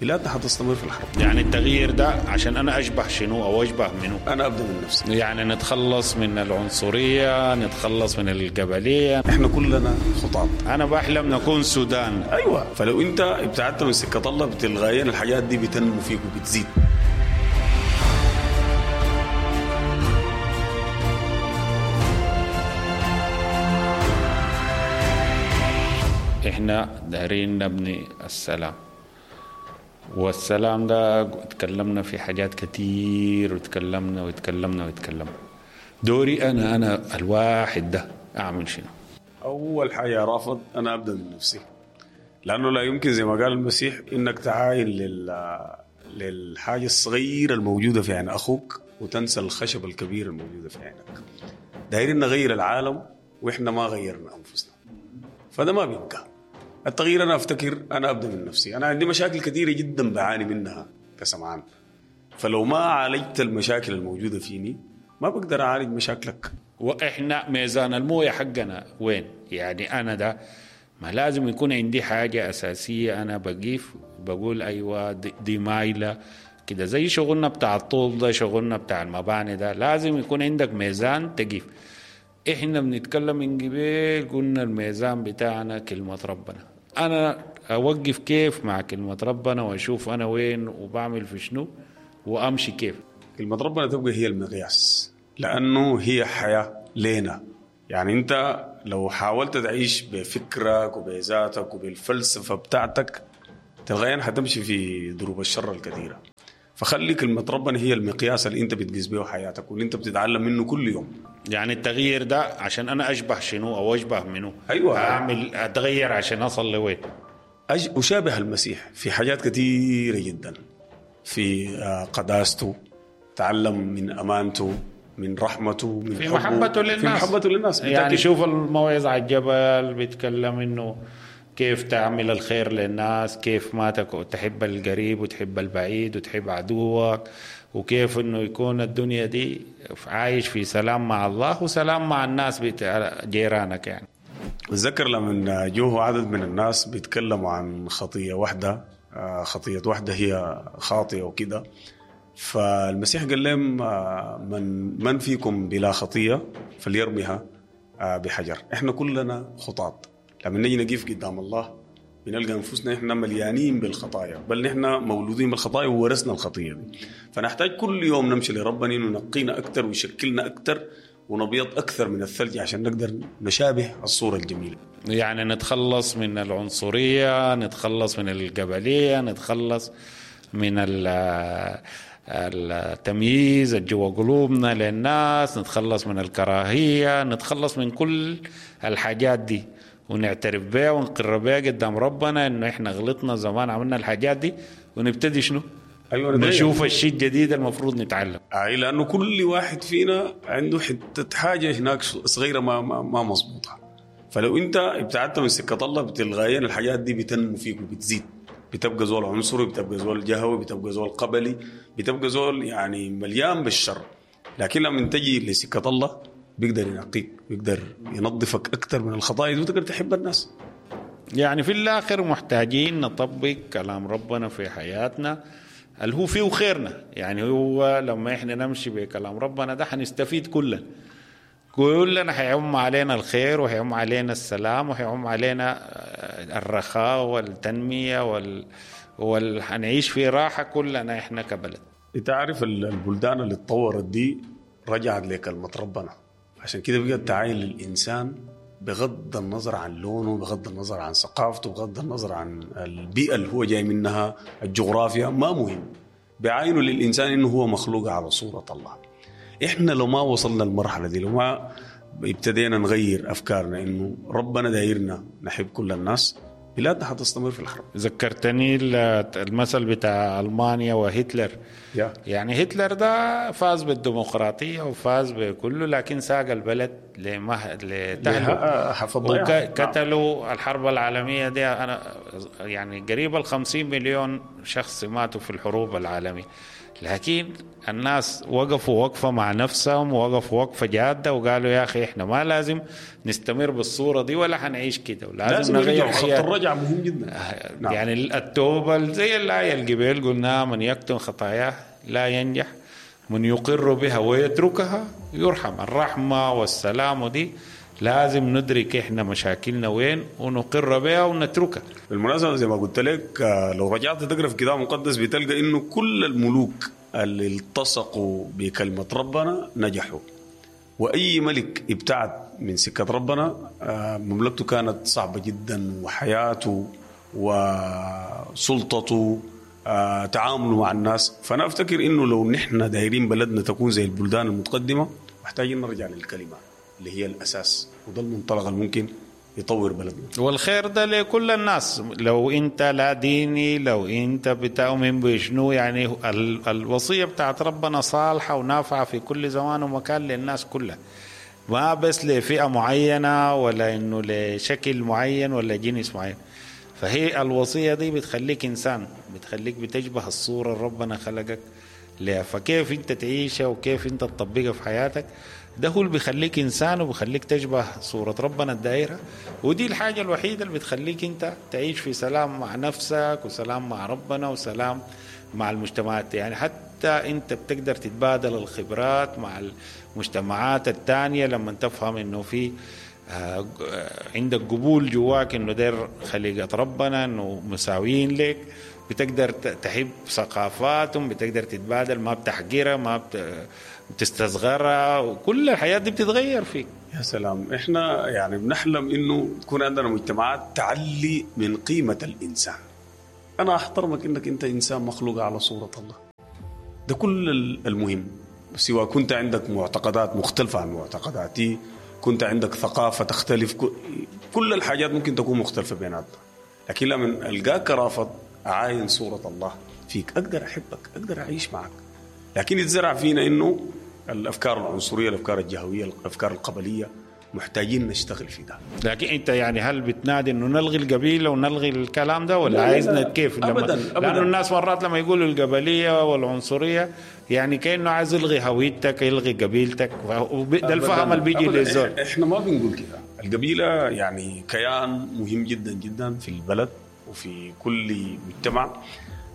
بلادنا حتستمر في الحرب. يعني التغيير ده عشان انا اشبه شنو او اشبه منو؟ انا ابدا من نفسي. يعني نتخلص من العنصرية، نتخلص من القبلية. احنا كلنا خطاط. انا بحلم نكون سودان. ايوه، فلو انت ابتعدت من سكة الله تلقائيا الحاجات دي بتنمو فيك وبتزيد. احنا دارين نبني السلام، والسلام ده تكلمنا في حاجات كتير، وتكلمنا وتكلمنا وتكلمنا. دوري انا الواحد ده اعمل شنو؟ اول حاجة رافض انا ابدا من نفسي، لانه لا يمكن زي ما قال المسيح انك تعاين للحاجة الصغيرة الموجودة في عين اخوك وتنسى الخشب الكبير الموجودة في عينك. دايرين نغير العالم واحنا ما غيرنا انفسنا، فده ما بيبقى التغيير. انا افتكر انا ابدا من نفسي. انا عندي مشاكل كثيرة جدا بعاني منها كسمعان، فلو ما عالجت المشاكل الموجودة فيني ما بقدر اعالج مشاكلك. واحنا ميزان المويه حقنا وين؟ يعني انا ده ما لازم يكون عندي حاجة اساسية، انا بقيف بقول ايوه دي مايلة كده، زي شغلنا بتاع الطوب ده، شغلنا بتاع المباني ده، لازم يكون عندك ميزان تقيف. احنا بنتكلم من قبل قلنا الميزان بتاعنا كلمة ربنا. انا اوقف كيف مع كلمة ربنا واشوف انا وين وبعمل في شنو وامشي كيف؟ كلمة ربنا تبقى هي المقياس، لانه هي حياة لينا. يعني انت لو حاولت تعيش بفكرك وبذاتك وبالفلسفة بتاعتك تلقائيا حتمشي في دروب الشر الكثيرة. فخلي كلمة ربنا هي المقياس اللي انت بتقيس به حياتك واللي انت بتتعلم منه كل يوم. يعني التغيير ده عشان انا اشبه شنو او اشبه منو؟ ايوه، اعمل اتغير عشان اصل لوين؟ اشابه المسيح في حاجات كثيرة جدا، في قداسته، تعلم من امانته، من رحمته، من في محبته للناس، في محبته للناس. يعني شوف الموعظة على الجبل بيتكلم انه كيف تعمل الخير للناس، كيف ما تحب القريب وتحب البعيد وتحب عدوك، وكيف انه يكون الدنيا دي عايش في سلام مع الله وسلام مع الناس جيرانك. يعني اتذكر لما جوه عدد من الناس بيتكلموا عن خطية واحدة، خطية واحدة هي خاطئة وكده، فالمسيح قال لهم من فيكم بلا خطية فليرميها بحجر. احنا كلنا خطاط. لما نيجي نقف قدام الله بنلقى انفسنا احنا مليانين بالخطايا، بل نحن مولودين بالخطايا وورثنا الخطية دي. فنحتاج كل يوم نمشي لربنا انه ينقينا اكثر ويشكلنا اكثر ونبيض اكثر من الثلج عشان نقدر نشابه الصورة الجميلة. يعني نتخلص من العنصرية، نتخلص من القبلية، نتخلص من التمييز الجوا قلوبنا للناس، نتخلص من الكراهية، نتخلص من كل الحاجات دي ونعترف بها ونقر بها قدام ربنا انه احنا غلطنا زمان، عملنا الحاجات دي، ونبتدي شنو؟ ايوه، نشوف الشيء الجديد المفروض نتعلم. اي، لانه كل واحد فينا عنده حتة حاجة هناك صغيرة ما مظبوطة. فلو انت ابتعدت من سكة الله تلقائيا الحاجات دي بتنمو فيك وبتزيد. بتبقى زول عنصري، بتبقى زول جهوي، بتبقى زول قبلي، بتبقى زول يعني مليان بالشر. لكن لما تجي لسكه الله بيقدر ينقيك، بيقدر ينظفك أكثر من الخطايا وتقدر تحب الناس. يعني في الآخر محتاجين نطبق كلام ربنا في حياتنا اللي هو فيه خيرنا. يعني هو لما إحنا نمشي بكلام ربنا ده حنستفيد كلنا حيعم علينا الخير وحيعم علينا السلام وحيعم علينا الرخاء والتنمية وحنعيش في راحة كلنا إحنا كبلد. انت عارف البلدان اللي اتطورت دي رجعت لكلمة ربنا، عشان كده بقى تعاين للإنسان بغض النظر عن لونه، بغض النظر عن ثقافته، بغض النظر عن البيئة اللي هو جاي منها، الجغرافيا ما مهم. بعينه للإنسان إنه هو مخلوق على صورة الله. إحنا لو ما وصلنا المرحلة دي، لو ما ابتدينا نغير أفكارنا إنه ربنا دايرنا نحب كل الناس، بلادنا حتستمر في الحرب. ذكرتني المثل بتاع ألمانيا وهتلر. يعني هتلر ده فاز بالديمقراطية وفاز بكله، لكن ساق البلد لتهلك وقتلوا. الحرب العالمية دي أنا يعني قريب 50 مليون شخص ماتوا في الحروب العالمية، لكن الناس وقفوا وقفة مع نفسهم، وقفوا وقفة جادة وقالوا يا أخي إحنا ما لازم نستمر بالصورة دي ولا حنعيش كده، ولازم نغير خط الرجعة مهم جدا. نعم. يعني التوبة زي الآية القبيل قلنا من يكتم خطاياه لا ينجح، من يقر بها ويتركها يرحم. الرحمة والسلام دي لازم ندرك إحنا مشاكلنا وين ونقر بها ونتركها. بالمناسبة زي ما قلت لك لو رجعت تقرأ في كتاب مقدس بتلقى إنه كل الملوك اللي التصقوا بكلمة ربنا نجحوا، وأي ملك ابتعد من سكة ربنا مملكته كانت صعبة جدا، وحياته وسلطته تعامله مع الناس. فأنا أفتكر إنه لو نحن دايرين بلدنا تكون زي البلدان المتقدمة محتاجين نرجع للكلمة اللي هي الأساس، وده المنطلق الممكن يطور بلدنا. والخير ده لكل الناس، لو انت لا ديني، لو انت بتؤمن بشنو، يعني الوصية بتاعت ربنا صالحة ونافعة في كل زمان ومكان للناس كلها، ما بس لفئة معينة ولا انه لشكل معين ولا جنس معين. فهي الوصية دي بتخليك إنسان، بتخليك بتشبه الصورة اللي ربنا خلقك لها، فكيف انت تعيشها وكيف انت تطبقها في حياتك، ده هو اللي بيخليك إنسان وبيخليك تشبه صورة ربنا الدائرة. ودي الحاجة الوحيدة اللي بتخليك انت تعيش في سلام مع نفسك وسلام مع ربنا وسلام مع المجتمعات. يعني حتى انت بتقدر تتبادل الخبرات مع المجتمعات التانية لما تفهم انه في عندك قبول جواك انه دير خليقة ربنا، انه مساويين لك، بتقدر تحب ثقافاتهم، بتقدر تتبادل، ما بتحقرها، ما بتستصغرها، وكل الحياة دي بتتغير فيك. يا سلام، احنا يعني بنحلم انه تكون عندنا مجتمعات تعلي من قيمة الإنسان. انا احترمك انك انت انسان مخلوق على صورة الله، ده كل المهم، سواء كنت عندك معتقدات مختلفة عن معتقداتي، كنت عندك ثقافة تختلف، كل الحاجات ممكن تكون مختلفة بيناتنا، لكن لما ألقاك رافض أعاين صورة الله فيك أقدر أحبك، أقدر أعيش معك. لكن يتزرع فينا إنه الأفكار العنصرية، الأفكار الجهوية، الأفكار القبلية، محتاجين نشتغل في ده. لكن أنت يعني هل بتنادي إنه نلغي القبيلة ونلغي الكلام ده، ولا عايزنا كيف؟ أبداً أبداً. لأنه الناس مرات لما يقولوا القبلية والعنصرية يعني كأنه عايز يلغي هويتك، يلغي قبيلتك، ده الفهم اللي بيجي للزول. إحنا ما بنقول كده. القبيلة يعني كيان مهم جدا جدا في البلد وفي كل مجتمع.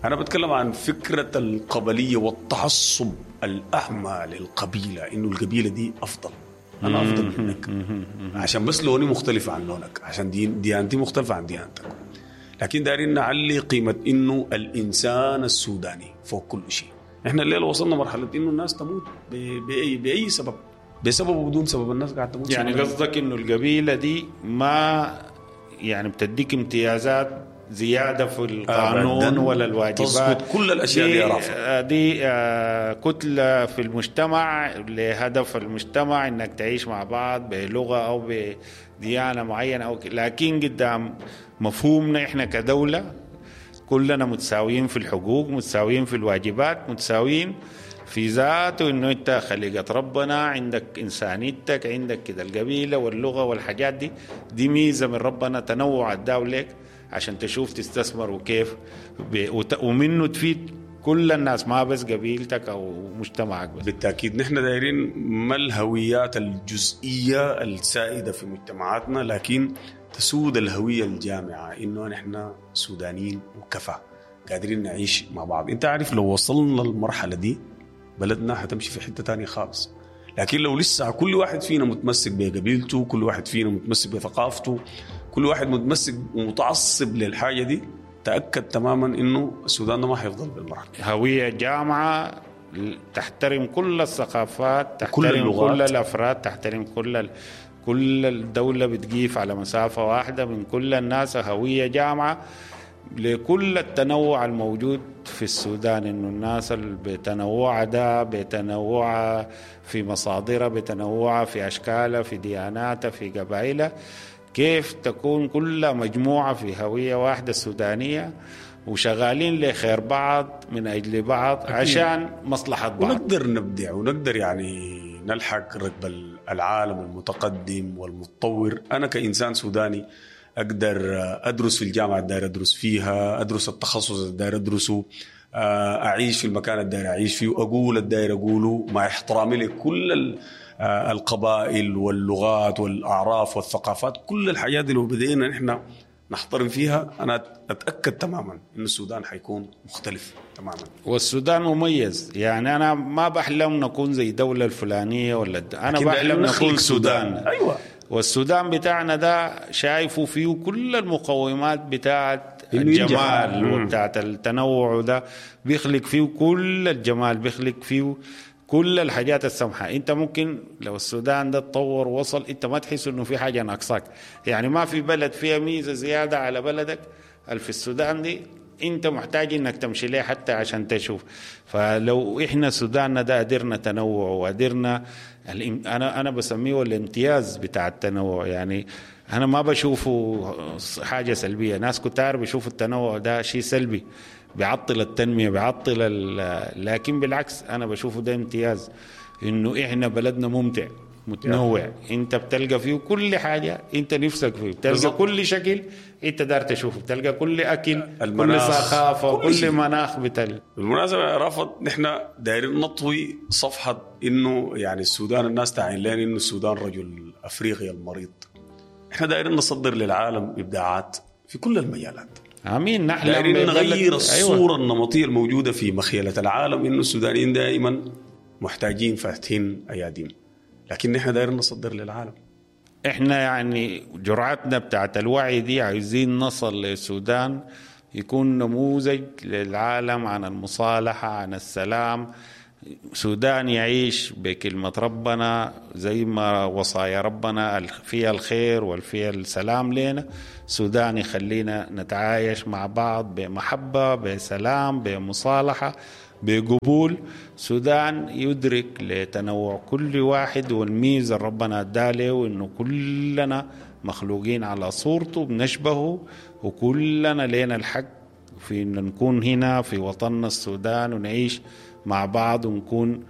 أنا بتكلم عن فكرة القبلية والتعصب الأعمى للقبيلة، إنه القبيلة دي أفضل، أنا أفضل منك عشان بس لوني مختلف عن لونك، عشان ديانتي مختلفة عن ديانتك. لكن دارين نعلي قيمة إنه الإنسان السوداني فوق كل شيء. إحنا الليلة وصلنا مرحلة إنه الناس تموت بأي سبب، بسبب وبدون سبب الناس قاعدة تموت. يعني قصدك إنه القبيلة دي ما يعني بتديك امتيازات زيادة في القانون ولا الواجبات، تسقط كل الأشياء دي رافض. دي كتلة في المجتمع لهدف المجتمع إنك تعيش مع بعض بلغة أو بديانة معينة أو لكن قدام مفهومنا إحنا كدولة كلنا متساويين في الحقوق، متساويين في الواجبات، متساويين في ذاته، إنه أنت خليقة ربنا، عندك إنسانيتك، عندك كده القبيلة واللغة والحاجات دي، دي ميزة من ربنا تنوع الدولة عشان تشوف تستثمر وكيف ومنه تفيد كل الناس، ما بس قبيلتك أو مجتمعك بس. بالتأكيد نحن دايرين ما الهويات الجزئية السائدة في مجتمعاتنا، لكن تسود الهوية الجامعة إنه نحن سودانيين وكفى، قادرين نعيش مع بعض. أنت عارف لو وصلنا للمرحلة دي بلدنا هتمشي في حتة تانية خالص. لكن لو لسه كل واحد فينا متمسك بقبيلته، كل واحد فينا متمسك بثقافته، كل واحد متمسك ومتعصب للحاجة دي، تأكد تماما إنه السودان ده ما حيفضل بالمرحلة. هوية جامعة تحترم كل الثقافات، تحترم كل الأفراد، تحترم كل الدولة، بتقيف على مسافة واحدة من كل الناس. هوية جامعة لكل التنوع الموجود في السودان، إنه الناس اللي بتنوع ده، بتنوع في مصادرها، بتنوع في أشكالها، في دياناتها، في قبائلها، كيف تكون كل مجموعة في هوية واحدة سودانية وشغالين لخير بعض من أجل بعض. أكيد. عشان مصلحة بعض، ونقدر نبدع ونقدر يعني نلحق ركب العالم المتقدم والمتطور. أنا كإنسان سوداني أقدر أدرس في الجامعة الداير أدرس فيها، أدرس التخصص الداير أدرسه، أعيش في المكان الداير أعيش فيه، أقول الداير أقوله، مع احترامي لكل القبائل واللغات والأعراف والثقافات. كل الحاجات دي لو بدينا نحن نحترم فيها، أنا أتأكد تماما إن السودان حيكون مختلف تماما. والسودان مميز، يعني أنا ما بحلم نكون زي دولة الفلانية ولا أنا بحلم نكون سودان. أيوة. والسودان بتاعنا ده شايفه فيه كل المقومات بتاعت الجمال وبتاعت التنوع، ده بيخلق فيه كل الجمال، بيخلق فيه كل الحاجات السمحة. انت ممكن لو السودان ده تطور وصل، انت ما تحس انه في حاجة ناقصاك، يعني ما في بلد فيها ميزة زيادة على بلدك. في السودان دي انت محتاج انك تمشي ليه حتى عشان تشوف. فلو احنا سوداننا ده قدرنا تنوع وقدرنا، انا بسميه الامتياز بتاع التنوع، يعني انا ما بشوفه حاجة سلبية. ناس كتار بيشوفوا التنوع ده شيء سلبي، بيعطل التنمية، بيعطل، لكن بالعكس أنا بشوفه ده امتياز، إنه إحنا بلدنا ممتع متنوع، أنت بتلقى فيه كل حاجة أنت نفسك فيه، بتلقى بالزبط. كل شكل أنت دار تشوفه، بتلقى كل أكل، كل ثقافة، كل مناخ بتلقى. بالمناسبة رافض، نحن دايرين نطوي صفحة إنه يعني السودان الناس تعين لنا إنه السودان رجل أفريقيا المريض. إحنا دايرين نصدر للعالم إبداعات في كل المجالات. امين. نحن دايرين نغير الصورة النمطية الموجودة في مخيلة العالم إنه السودانيين دائما محتاجين فاتحين أياديهم، لكن نحن دايرين نصدر للعالم. احنا يعني جرعتنا بتاعت الوعي دي عايزين نصل للسودان يكون نموذج للعالم عن المصالحة، عن السلام. سودان يعيش بكلمة ربنا زي ما وصايا ربنا فيها الخير والفيها السلام لنا. سودان يخلينا نتعايش مع بعض بمحبة، بسلام، بمصالحة، بقبول. سودان يدرك لتنوع كل واحد والميزة ربنا اداله، وإنه كلنا مخلوقين على صورته بنشبهه، وكلنا لنا الحق في إن نكون هنا في وطننا السودان ونعيش مع بعض ونكون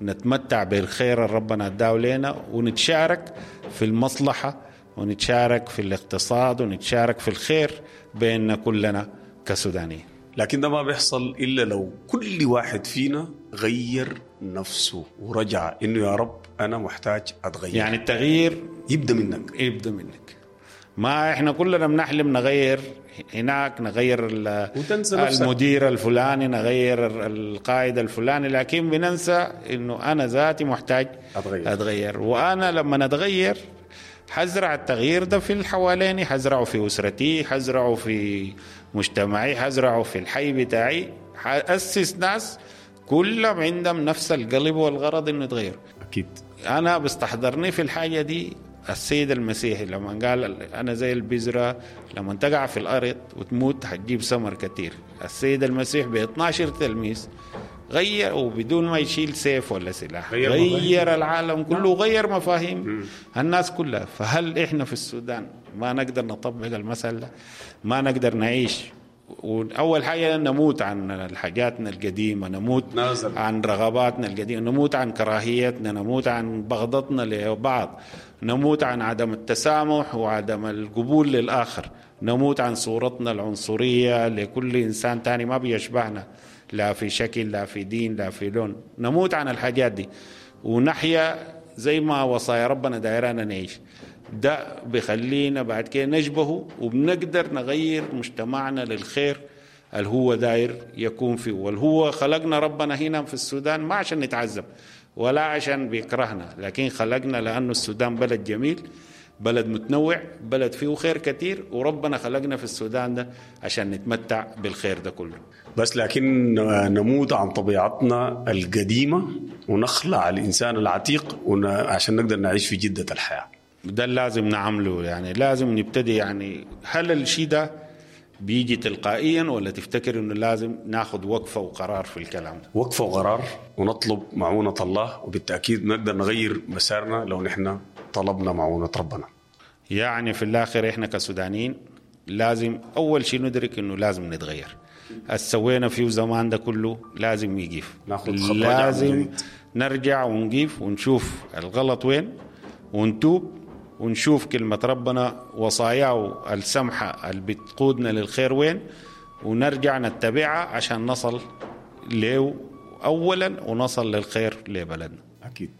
نتمتع بالخير اللي ربنا اداه لنا، ونتشارك في المصلحة ونتشارك في الاقتصاد ونتشارك في الخير بيننا كلنا كسودانيين. لكن ده ما بيحصل إلا لو كل واحد فينا غير نفسه ورجع إنه يا رب أنا محتاج أتغير. يعني التغيير يبدأ منك، يبدأ منك. ما إحنا كلنا بنحلم نغير هناك، نغير المدير الفلاني، نغير القائد الفلاني، لكن بننسى إنه أنا ذاتي محتاج أتغير. وأنا لما أتغير حزرع التغيير ده في الحواليني، حزرعه في أسرتي، حزرعه في مجتمعي، حزرعه في الحي بتاعي، حأسس ناس كلهم عندهم نفس القلب والغرض إنه يتغير. أكيد أنا بستحضرني في الحاجة دي السيد المسيحي لما قال أنا زي البذرة لما تقع في الأرض وتموت هتجيب ثمر كتير. السيد المسيح ب12 تلميذ غير، وبدون ما يشيل سيف ولا سلاح غير العالم كله، غير مفاهيم الناس كلها. فهل إحنا في السودان ما نقدر نطبق المسألة؟ ما نقدر نعيش؟ وأول حاجة نموت عن حاجاتنا القديمة، نموت عن رغباتنا القديمة، نموت عن كراهيتنا، نموت عن بغضتنا لبعض، نموت عن عدم التسامح وعدم القبول للآخر، نموت عن صورتنا العنصرية لكل إنسان تاني ما بيشبهنا، لا في شكل لا في دين لا في لون. نموت عن الحاجات دي ونحيا زي ما وصايا ربنا دايرانا نعيش. ده بيخلينا بعد كده نشبهه وبنقدر نغير مجتمعنا للخير اللي هو داير يكون فيه. والهو خلقنا ربنا هنا في السودان ما عشان نتعذب ولا عشان بيكرهنا، لكن خلقنا لأنه السودان بلد جميل، بلد متنوع، بلد فيه خير كتير، وربنا خلقنا في السودان ده عشان نتمتع بالخير ده كله. بس لكن نموت عن طبيعتنا القديمة ونخلع الإنسان العتيق عشان نقدر نعيش في جدة الحياة. ده لازم نعمله، يعني لازم نبتدي. يعني هل الشيء ده بيجي تلقائيا ولا تفتكر انه لازم ناخذ وقفة وقرار في الكلام ده؟ وقفة وقرار ونطلب معونة الله، وبالتأكيد نقدر نغير مسارنا لو نحن طلبنا معونة ربنا. يعني في الآخر احنا كسودانيين لازم أول شيء ندرك انه لازم نتغير. السوينا فيه زمان ده كله لازم يقيف. ناخد خط رجعة من لازم جديد. نرجع ونقيف ونشوف الغلط وين ونتوب، ونشوف كلمة ربنا وصاياه السمحة اللي بتقودنا للخير وين، ونرجع نتبعها عشان نصل له أولا ونصل للخير لبلدنا. أكيد.